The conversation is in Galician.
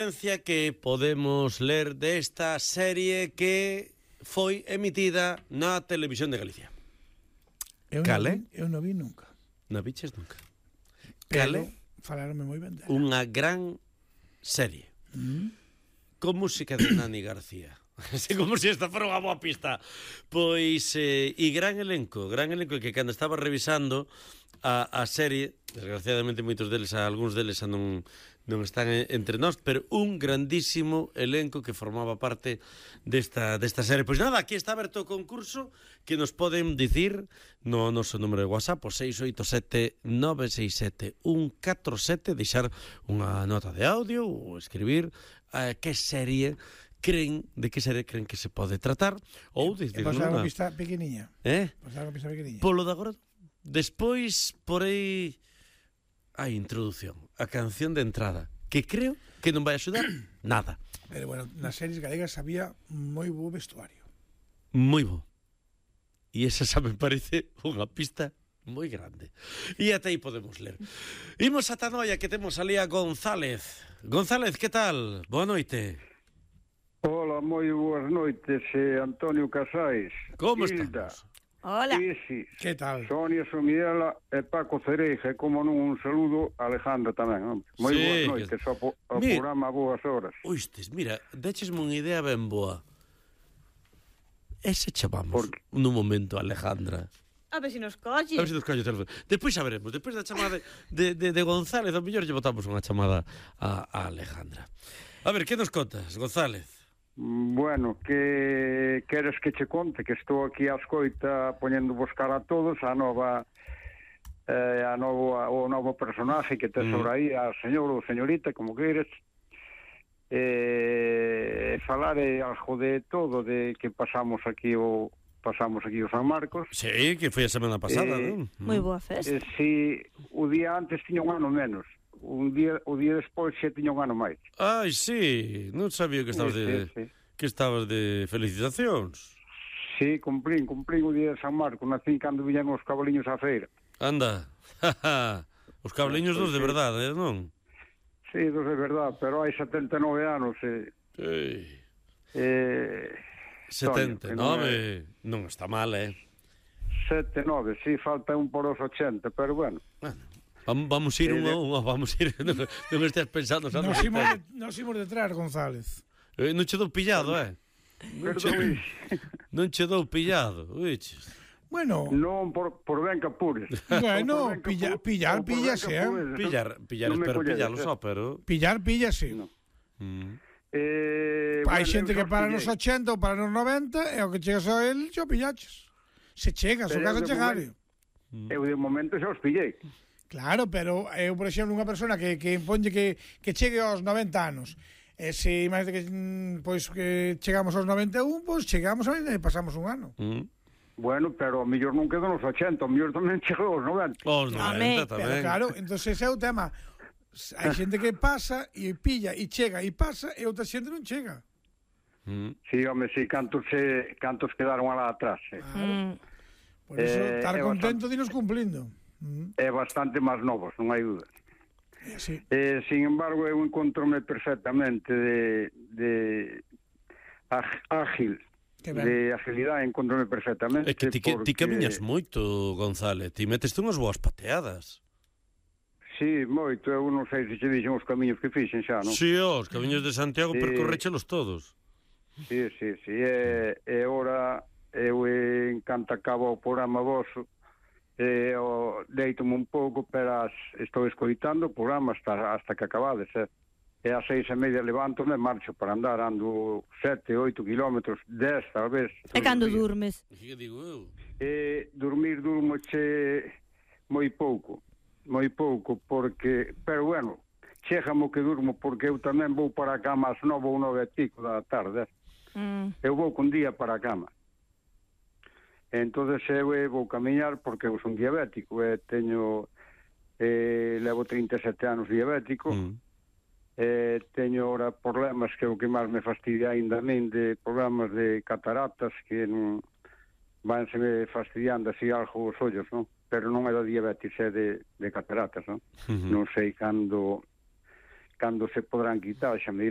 Que podemos ler desta serie que foi emitida na Televisión de Galicia. Cale? Eu non vi nunca. Non viches nunca. Pero Cale? falaronme moi ben dela. Unha gran serie. Con música de Nani García. Como se esta fora unha boa pista. Pois, e gran elenco que cando estaba revisando a serie, desgraciadamente moitos deles, algúns deles non están entre nós, pero un grandísimo elenco que formaba parte desta serie. Pois nada, aquí está aberto o concurso que nos poden dicir no noso número de WhatsApp, o 687-967-147, deixar unha nota de audio ou escribir que serie creen que se pode tratar ou dicir pasar unha pista pequeniña. Pasar unha pista pequeniña. Polo de agora. Despois, por aí, a introducción, a canción de entrada, que creo que non vai axudar nada. Pero bueno, nas series galegas había moi bo vestuario. Moi bo. E esa xa me parece unha pista moi grande. E até aí podemos ler. Imos ata Noia, que temos ali a González. González, que tal? Boa noite. Hola, moi boas noites, Antonio Casais. Como Hilda, estamos? Hola. Isis, Que tal? Sonia Somiela e Paco Cereja, e como non un saludo a Alejandra tamén. Moi Sí, boas noites ao Mira, programa a boas horas. Oistes, mira, dechesme unha idea ben boa. Ese chamamos nun momento a Alejandra. A ver se nos colle. A ver se nos colle o teléfono. Despois xa veremos, despois da chamada de González, ao mellor lle botamos unha chamada a Alejandra. A ver, que nos contas, González? Bueno, que queres que che conte que estou aquí a escoita poñendo buscar a todos o novo personaje que tes sobre aí, a señor ou señorita, como queres, falar algo de todo, de que pasamos aquí o San Marcos. Sí, que foi a semana pasada, non? Moi boa festa. Si o día antes tiña un ano menos, o día despois xa tiña un ano máis. Ai, sí, non sabía que estabas Sí. que estabas de felicitacións. Sí, cumplín o día de San Marcos, nacín cando viñan os cabaliños á feira. Anda, os cabliños dos de verdade, non? Sí, dos de verdade, pero hai 79 anos. 79, non está mal, 79, sí, falta un por os 80, pero bueno. Vamos ir vamos ir, non estés pensando. Nos imos detrás, González. Non che dou pillado, Perdón. Non che dou pillado, oiches. Bueno, Non por ben que apures. Bueno, pillar, píllase, Pillar, Non me espero colledes, pillarlo só, pero... Pillar, píllase. No. Hai xente que para nos 80 ou para nos 90 e o que chegas a él xa o pillaches. Se chegas, o caso chegar. Eu de momento xa os pillei. Claro, pero eu, por exemplo, unha persona que ponlle que chegue aos 90 anos. E se imagínate que pois que chegamos aos 91, pois chegamos a e pasamos un ano. Bueno, pero a mellor non quedo nos 80, a mellor tamén chegou aos 90. Os 90 Pero tamén. claro, entonces ese é o tema. Hai xente que pasa e pilla e chega e pasa e outra xente non chega. Sí, home, sí, cantos quedaron alá atrás. Por eso, estar contento de nos cumplindo. É bastante máis novos, non hai dúda. Sí. Sin embargo, eu encontrome perfectamente de ágil, de agilidade, encontrome perfectamente. É que ti camiñas moito, González, ti meteste unhas boas pateadas. Sí, moito, eu non sei se che dixen os camiños que fixen xa, non? Sí, os camiños de Santiago percorréchelos todos. Sí, e ora eu encanta acabo o programa vosso, deito-me un pouco, pero estou escoitando o programa hasta que acabades, e ás 6:30 levanto-me e marcho para andar, ando 7, 8 kilómetros, 10 tal vez. E cando durmes? Que digo eu? Durmo moi pouco, porque, pero bueno, chégamo que durmo, porque eu tamén vou para a cama ás 9 ou 9 e pico da tarde. Eu vou con día para a cama. Entonces eu vou camiñar porque eu son diabético e levo 37 anos diabético, teño ahora problemas que é o que máis me fastidia ainda a min, de problemas de cataratas que non vanse me fastidiando así algo os ollos, non? Pero non é da diabetes, é de cataratas, non? Non sei cando cando se podrán quitar, xa me dirán